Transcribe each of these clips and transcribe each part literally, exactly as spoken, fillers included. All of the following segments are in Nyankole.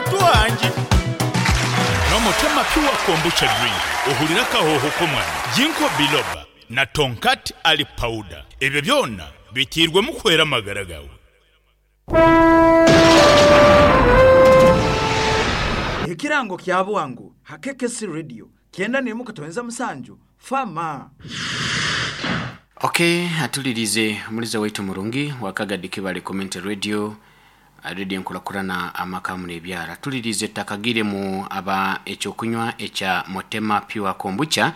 Twangi. N'Omutema Pure Kombucha Drink ohurire akahooho k'omwana, Ginkgo Biloba na Tongkat Ali Powder. Ebyo byona biteirwemu kuhwera amagara gaawe. Ekirango kya bwangu ha K K C Radio kyenda n'emwe kutoinza musanju fama. Okay, atulirize omuliza waitu murungi wakagadi Kibale Community Radio, radio enkurakurana amaka muno ebyara. Tulirize takagire mu aba ekyokunywa ekya Motema Pure Kombucha.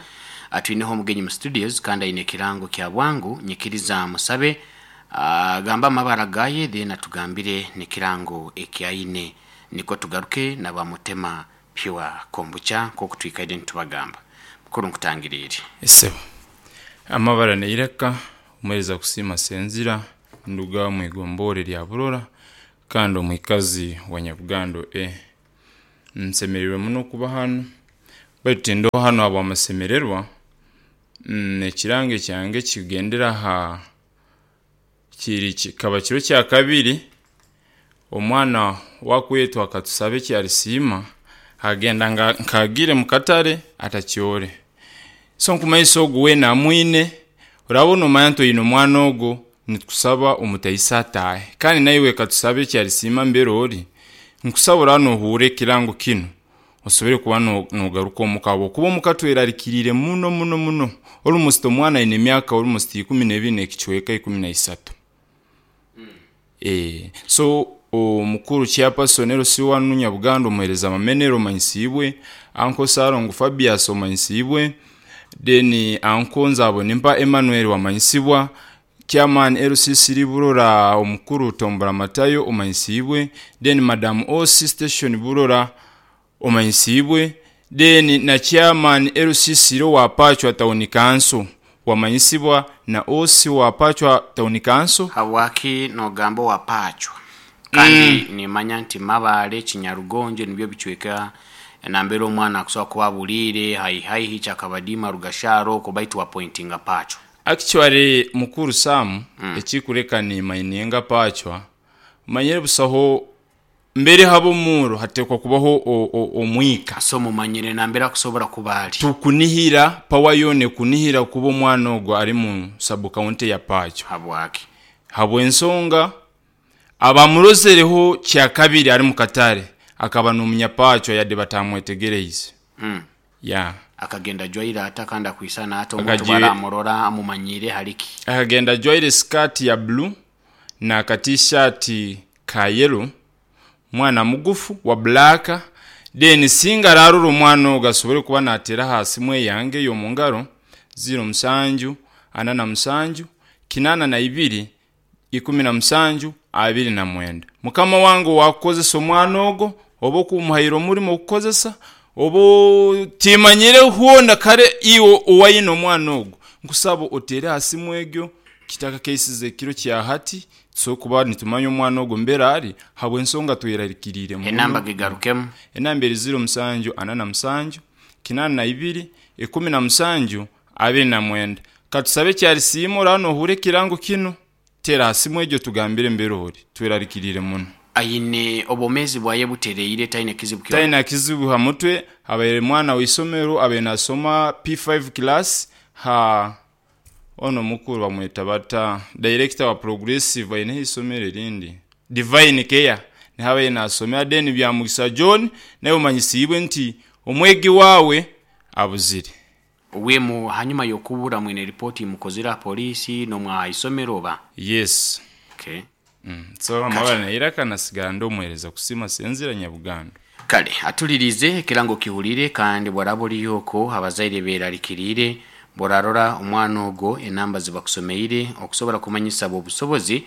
Atwineho omugenyi mu studios kandi aine ekirango kya bwangu, nyikiriza musabe agamba amabara gaye then atugambire nekirango ekyaine, niko tugaruke naba Motema Pure Kombucha nkoku twikaire nitubagamba. Mukuru nkutangirire. Esebo amabara neireka omuhereza kusiima Senzira, nduga omwigombore rya Burora kandi omwikazi wa Nyabugando E. Nsemereirwe muno kuba hanu, baitu tindoho hanu habw'amasemererwa. Mm, ekirango kyange kigendera aha kiri kikaba kiro kya kabiri omwana wakwetwa akatusabe ekyarisiima agenda nga nkagire mukatare atakyore. So nkumanyisa ogu weena amwine, orabona omanya nti oine omwana ogu, nitukusaba omutaisa ataahe. Kandi naiwe katusabe ekyarisiima mbere ori, nkusaba oraba nohuura ekirango kinu, osobore kuba nogaruka omuka habwokuba omuka twerarikiriire muno muno muno. Almost omwana aine emyaka almost ikumi n'ebiri n'ekicweka ikumi na isatu. Eh, so omukuru chairperson L C one Nyabugando omuhereza amamenero omanyisiibwe, Uncle Salongo Fabius omanyisiibwe, then Uncle Nzabonimpa Emmanuel wamanyisibwa, chairman L C C Burora omukuru Tombora Matayo omanyisiibwe, then Madam O C Station Burora omanyisiibwe, then na chairman L C C wa Pachwa Town Council wamanyisibwa na O C wa Pachwa Town Council. Habwaki nogamba wa Pachwa? Kandi mm. nimanya nti Mabale Kinyarugonje nibyo bicweka nambere omwana akusobola kuba bulire hai hai hichakabadima Rugasharo ko baitu wa pointinga Pachwa. Actually mukuru Sam mm. ekikureka ni mainenga Pachwa manyere busaho mbere habo muro hatekwa kubaho omwika. So mumanyire nambera kusobora kubali tukunihira power yone kunihira kuba omwana ogwo ari mu sub county ya Pachwa. Habwaki? Habwensonga abamurozereho kya kabiri ari mu katare akaba n'umunyapachwa yade batamwetegereize. Mm. Yeah. Akagenda jwaira atakanda kuisana hata omuntu baramurora amumanyire hariki. Akagenda jwaire skirt ya blue na ka t-shirt ka yellow, mwana mugufu wa black, then singa rarura omwana ogasobore kuba natera hasi mwe yange yo mungaro zero musanju ana na musanju kinana na ibiri ikumi na musanju abiri na mwenda. Mukama wangu wakozesa omwana ogo oba okumuhaira omurimo okukozesa oba timanyire huona kare iwo owayina omwana ogo, nkusaba otere hasi mwegyo kitaka cases ekiro kya hati so kuba nitumanya omwana ogo mbere ari habwensonga twerarikirire muno. Enamba gigarukemu enamba eri zero musanju ana na musanju kinana na ibiri ikumi na musanju abiri na mwenda. Katusabe kyarisiima orano ohure ekirango kino tera hasi mwegyo tugambire mbere ori twerarikirire muno. Aine obomezi bwaye butereire taine kizibu kyo taine kizibu ha mutwe abaire mwana w'isomero abaire nasoma P five class ha ono mukuru bamweta bata director wa progressive aine isomero erindi Divine Care ni habaye nasomera then bya Mugisa John naye umanyisibwe nti omwegi wawe abuzire wemu hanyuma yokubura mwene ripoti mukozera polisi no mwa isomero ba. Yes. Okay. Mm. So amabara nairaka nasigara ndomwereza kusima Senzira Nyabugando. Kale atulirize ekirango kihulire kandi bwaraboli yoko abazaire berarikirire borarora omwana ogo enamba zibakusomeire okusobora kumanyisa obusobozi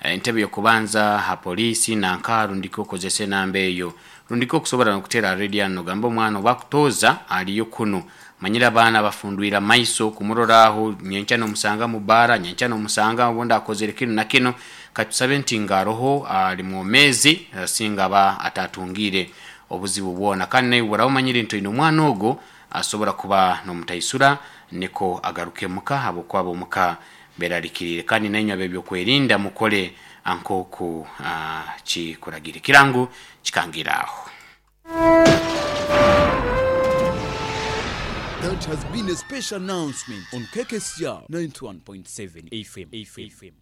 entebe yokubanza ha polisi na nkaru ndiko kozese namba eyo rundiko okusobora nokutera radio no gamba omwana obakutoza aliyo kuno manyira abana bafundwira maiso kumuroraho nyencha no musanga mubara nyencha no musanga obonda akozere kino na kino katusabe nti ngaroho ali mwomezi singa ba atatungire obuzibu bwona kandi naye burawumanyire nti ino omwana ogo asobora kuba nomutaisura niko agaruke muka abo kwabo muka berarikirire kandi nanywa bebyo kwerinda mukole ankoku uh, chikuragire kirango kikangiraho. It has been a special announcement on K K C R ninety-one point seven F M. F M.